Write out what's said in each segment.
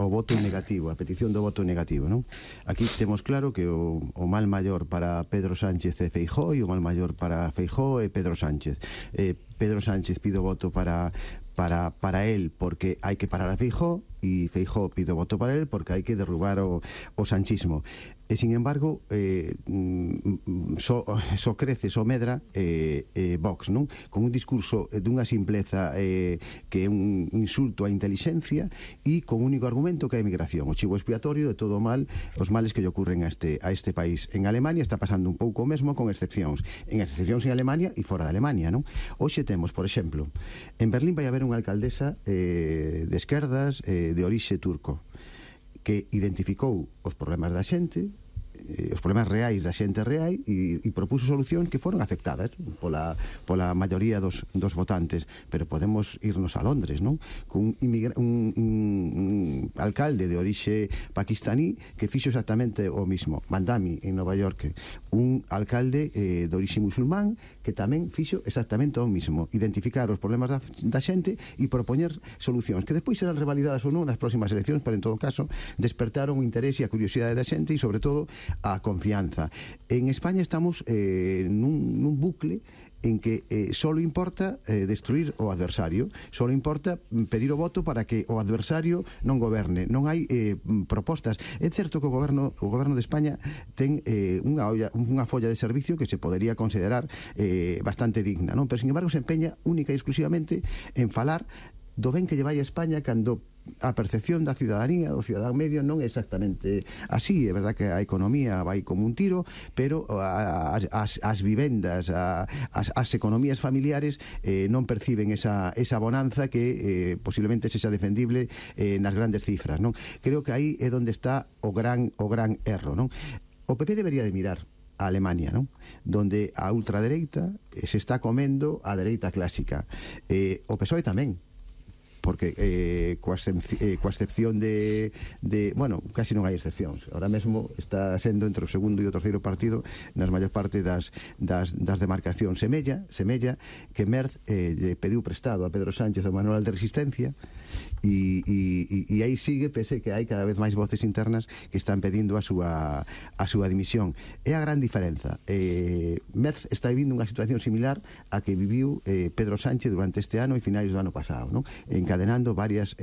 o voto negativo, a petición do voto negativo, non? Aquí temos claro que o mal maior para Pedro Sánchez é Feijóo e o mal maior para Feijóo é Pedro Sánchez. Pedro Sánchez pide o voto para él porque hai que parar a Feijóo, e Feijóo pide o voto para él porque hai que derrubar o sanchismo. E, sin embargo, só crece, só medra Vox, non? Con un discurso dunha simpleza que é un insulto á inteligencia e con un único argumento que é a emigración, o chivo expiatorio de todo o mal, os males que lle ocurren a este país. En Alemania está pasando un pouco o mesmo, con excepcións en Alemania e fora de Alemania, non? Hoxe temos, por exemplo, en Berlín vai haber unha alcaldesa de esquerdas de orixe turco que identificou os problemas da xente, os problemas reais da xente real, e propuso solucións que foron aceptadas pola maioría dos votantes. Pero podemos irnos a Londres, non? Con un alcalde de orixe pakistaní que fixo exactamente o mismo. Mandami, en Nova York, un alcalde de orixe musulmán que tamén fixo exactamente o mismo: identificar os problemas da xente e propoñer solucións que despois serán revalidadas ou non nas próximas eleccións, pero en todo caso despertaron o interese e a curiosidade da xente e, sobre todo, a confianza. En España estamos nun bucle en que só importa destruir o adversario, só importa pedir o voto para que o adversario non goberne. Non hai propostas. É certo que o goberno de España ten unha folla de servicio que se podería considerar bastante digna, non? Pero, sin embargo, se empeña única e exclusivamente en falar do ben que lle vai a España, cando a percepción da ciudadanía, do cidadán medio, non é exactamente así. É verdad que a economía vai como un tiro, pero as vivendas, as economías familiares non perciben esa bonanza que posiblemente sexa defendible nas grandes cifras, non? Creo que aí é onde está o gran erro, non? O PP debería de mirar a Alemania, non? Donde a ultradereita se está comendo a dereita clásica. O PSOE tamén, porque coa excepción de bueno, casi non hai excepcións. Ahora mesmo está sendo entre o segundo e o terceiro partido nas maior parte das demarcacións. Semella que Merz lle pediu prestado a Pedro Sánchez o manual de resistencia, e aí sigue, pese que hai cada vez máis voces internas que están pedindo a súa dimisión. É a gran diferenza. Merz está vivindo unha situación similar a que viviu Pedro Sánchez durante este ano e finais do ano pasado, non? Encadenando varias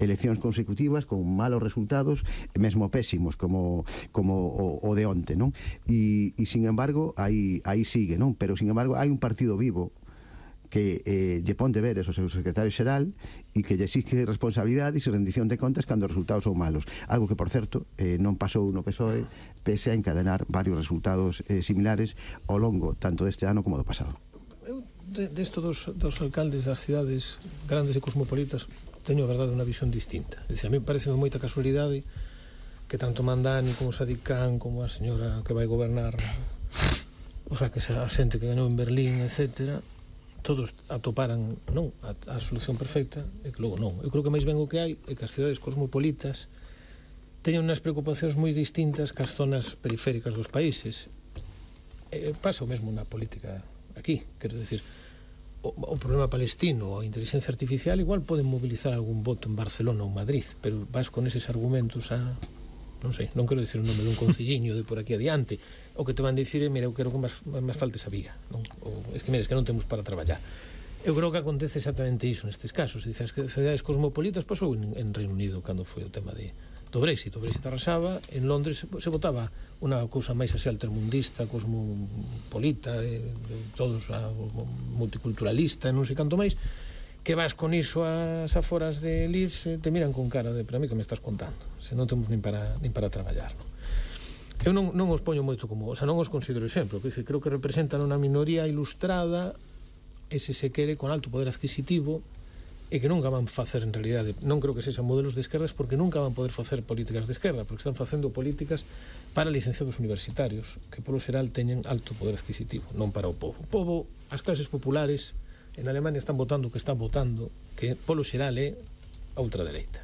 eleccións consecutivas con malos resultados, mesmo pésimos, como o de onte, non? E sin embargo, aí sigue, non? Pero, sin embargo, hai un partido vivo que lle pon deberes ao seu secretario xeral e que lle exige responsabilidades e rendición de contas cando os resultados son malos. Algo que, por certo, non pasou no PSOE, pese a encadenar varios resultados similares ao longo tanto deste ano como do pasado. Eu, desto dos alcaldes das cidades grandes e cosmopolitas, teño, a verdade, unha visión distinta. É dicir, a mí parece moita casualidade que tanto Mandani como Sadiq Khan como a señora que vai gobernar, o sea, que a xente que gañou en Berlín, etcétera, todos atoparan non a solución perfecta, e que logo non. Eu creo que máis ben o que hai é que as cidades cosmopolitas teñen unhas preocupacións moi distintas que as zonas periféricas dos países. Pasa o mesmo na política aquí, quero decir, o problema palestino, a inteligencia artificial, igual poden mobilizar algún voto en Barcelona ou Madrid, pero vas con eses argumentos a, non sei, non quero dicir o nome dun concilliño de por aquí adiante, o que te van dicir é, mira, eu quero que máis falte esa vía, non? Ou, es que, mira, es que non temos para traballar. Eu creo que acontece exactamente iso nestes casos. Dice, as cidades cosmopolitas pasou en Reino Unido cando foi o tema do Brexit. O Brexit arrasaba, en Londres se votaba unha cousa máis así altermundista, cosmopolita, todos multiculturalista, non sei canto máis, que vas con iso ás aforas de Leeds, te miran con cara de, pero a mí que me estás contando, se non temos nin para traballar, non? Eu non os poño moito como, o sea, non os considero exemplo, creo que representan unha minoría ilustrada, ese se quere con alto poder adquisitivo, e que nunca van facer, en realidade, non creo que sexan modelos de esquerdas, porque nunca van poder facer políticas de esquerda, porque están facendo políticas para licenciados universitarios, que polo xeral teñen alto poder adquisitivo, non para o povo. O povo, as clases populares, en Alemania están votando o que están votando, que polo xeral é a ultradereita.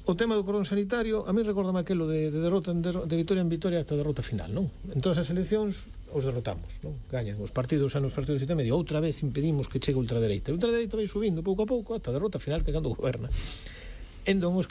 O tema do cordón sanitario, a mí recórdame aquelo de derrota de vitoria en vitoria ata derrota final, non? En todas as eleccións os derrotamos, non? Gañan os partidos, xa nos partidos de medio, outra vez impedimos que chegue a ultradereita. A ultradereita vai subindo pouco a pouco ata a derrota final que cando goberna. Entón, os